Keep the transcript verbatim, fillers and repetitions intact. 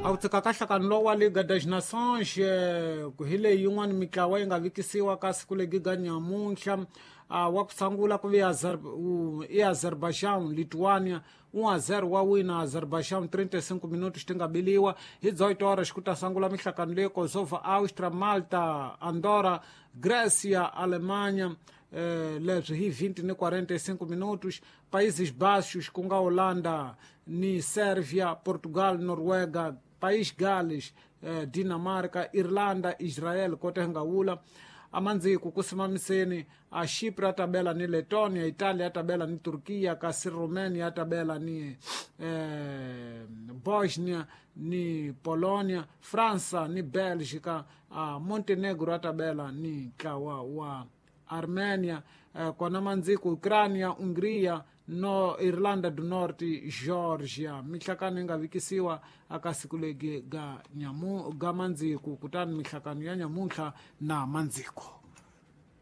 A wu tshika ka nhlangano lowu wa Liga das Nações, hi leyi yin'wana mitlawa yi nga vikisiwa ka siku legi ga nyamuntlha. Wa ku sungula ku ve i Azerbaijan Lithuania um a zero wa wina Azerbaijan trinta e cinco minutos ti nga biliwa. Hi dezoito horas ku ta sungula mihlangano leyi Kosovo, Austria, Malta, Andorra, Grécia, Alemanha, eh, leswi hi vinte ni quarenta e cinco minutos. Países Baixos ku nga Holanda ni Sérvia, Portugal, Noruega, País Gales, eh, Dinamarca, Irlanda, Israel kote nga wula. Amandziku ku simamiseni a Chipre a tabela ni Letonia, Italia a tabela ni Turkiya, kasi Romania a tabela ni eh, Bosnia ni Polonia, França ni Bélgica, a Montenegro a tabela ni ntlawa wa Armenia, eh, kona mandziku Ucrania, Hungria, no Irlanda do Norte, Georgia. Mihlakano yi nga vikisiwa aka siku legi ga nyamu ga mandziku, kutani mihlakano ya nyamuntlha na mandziku.